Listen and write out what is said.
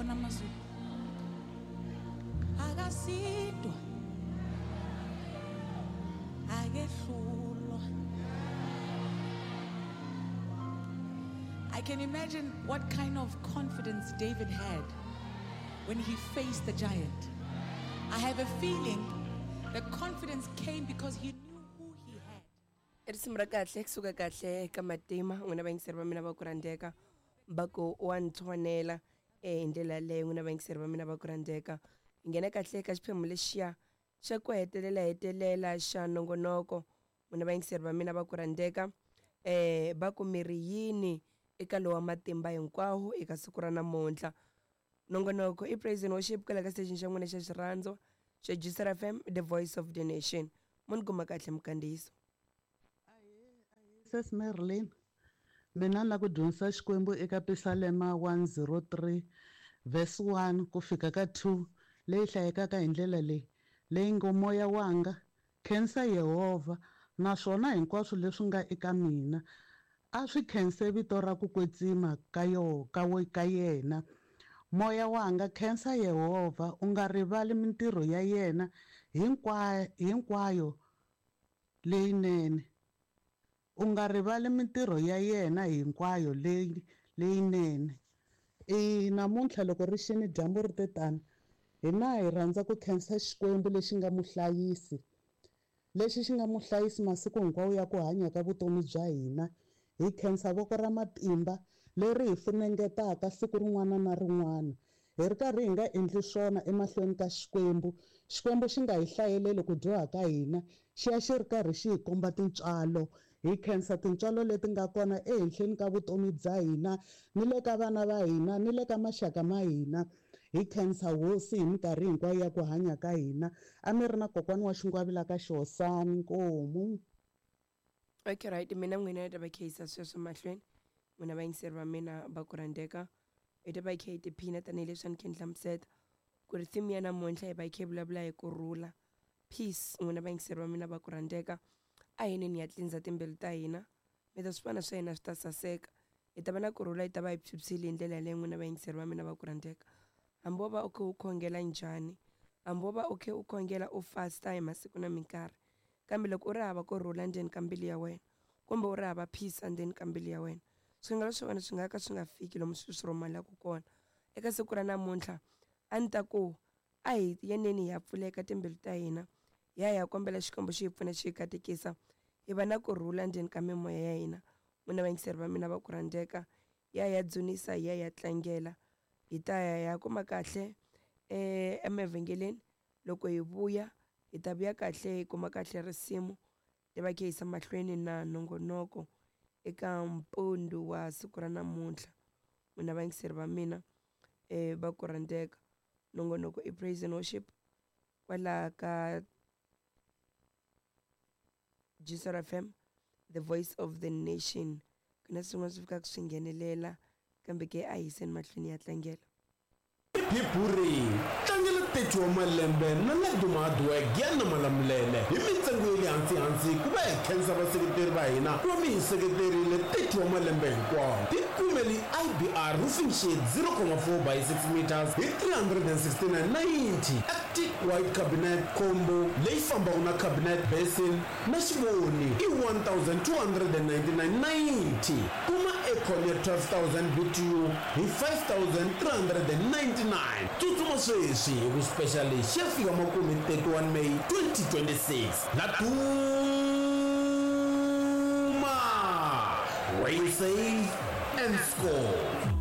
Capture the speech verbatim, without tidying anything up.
Wabona amazulu. Akasindwa. Akehlulwa. I can imagine what kind of confidence David had when he faced the giant. I have a feeling the confidence came because he knew who he had. I risimu ra kahle kusuka kahle ka matima n'wina vayingiseri va mina va ku rhandzeka va ku wa nthonela eh hi ndlela yaleyo n'wina vayingiseri va mina va ku rhandzeka hi nghena kahle ka xiphemu lexiya xa ku hetelela hetelela xa nongonoko n'wina vayingiseri va mina va ku rhandzeka eh va ku miri yini eka lowa matimba hinkwawo eka siku ra namuntlha. Nongonoko i Praise and Worship kwala ka station xa n'wina xa xirhandzo xa G S R F M, the voice of the nation. Mo ni kuma kahle mukandziyiso. Sis Merlin, mina ni la ku dyondzisa Xikwembu eka Pisalema one oh three verse one ku fika ka two, leyi hlayekaka hi ndlela leyi leyi ngo: "Moya wanga, khensa Yehovha, naswona hinkwaswo leswi nga eka mina a swi khense vito ra ku kwetsima ka yo ka we ka yena. Moya wanga, khensa Yehovha, u nga rivali mintirho ya yena hinkwayo hinkwayo leyinene, u nga rivali mintirho ya yena hinkwayo leyi leyinene." I namuntlha loko ri xini, dyambu ri te tani, hina hi rhandza ku khensa Xikwembu lexi nga muhlayisi, lexi xi nga muhlayisi masiku hinkwawo ya ku hanya ka vutomi bya hina. Hi khensa voko ra matimba leri hi funengetaka siku rin'wana na rin'wana hi ri karhi hi nga endli swona emahlweni ka Xikwembu. Xikwembu xi nga hi hlayeleli ku dyoha ka hina, xi ya xi ri karhi xi hi komba tintswalo. Hi khensa tintswalo leti nga kona ehenhleni ka vutomi bya hina, ni le ka vana va hina, ni le ka maxaka ma hina. Hi khensa Hosi hi minkarhi hinkwayo ya ku hanya ka hina. A mi ri na kokwana wa Xingwavila ka Xihosani, nkomu. Okay, right, mina n'wina yi ta va kheyisa sweswo mahlweni. N'wina vayingiseri va mina va ku rhandzeka, hi ta va hi kha hi tiphina tanihileswi a ni kha ni hlamuseta ku ri theme ya namuntlha hi va hi kha hi vulavula hi kurhula, peace. N'wina vayingiseri va mina va ku rhandzeka, a hi neni ya tlinza timbilu ta hina, mi ta swi vona swa hina swi ta saseka, hi ta va na kurhula, hi ta va hi phyuphyile hi ndlela yaleyo. N'wina vayingiseri va mina va ku rhandzeka, hambi wo va u kha u khongela njhani, hambi wo va u kha u khongela, u fasta hi masiku na minkarhi, kambe loko u ri hava kurhula ndzeni ka mbilu ya wena, kumbe u ri hava peace endzeni ka mbilu ya wena, swikhongelo swa wena swi nga ka swi nga fiki lomu swi swi rhumelaka kona. Eka siku ra namuntlha a ni ta ku a hi yeneni hi ya pfuleka timbilu ta hina, hi ya hi ya kombela Xikwembu xi hi pfuna, xi hi katekisa, hi va na kurhula ndzeni ka mimoya ya hina. N'wina vayingiseri va mina va ku rhandzeka, hi ya hi ya dzunisa, hi ya hi ya tlangela, hi ta ya hi ya kuma kahle eh emavhengeleni. Loko hi vuya, hi ta vuya kahle, hi kuma kahle risimu ti va kha yisa mahlweni na nongonoko eka mpundu wa siku ra namuntlha. N'wina vayingiseri va mina eh va ku rhandzeka, nongonoko i Praise and Worship kwala ka G S R F M, the voice of the nation. Ku na swin'wana swi fikaka swi nghenelela, kambe ke a hiseni mahlweni ya tlangela. Hi tlangela thirty wa malembe na Laduma Hardwork ya na Malamulele hi mintsengo ya le hansi-hansi ku va hi khensa vaseketeri va hina ku va mi hi seketerile thirty wa malembe hinkwawo. Tikumeli I B R roofing sheet zero point four by six meters hi three hundred sixty-nine ninety, Arctic white cabinet combo leyi fambaka na cabinet, basin na xivoni i one thousand two hundred ninety-nine ninety. Kuma aircon ya twelve thousand B T U hi five thousand three hundred ninety-nine. Tsutsuma sweswi hi ku special lexi ya fika makumu hi thirty-one May twenty twenty-six. Laduma, where you save and score.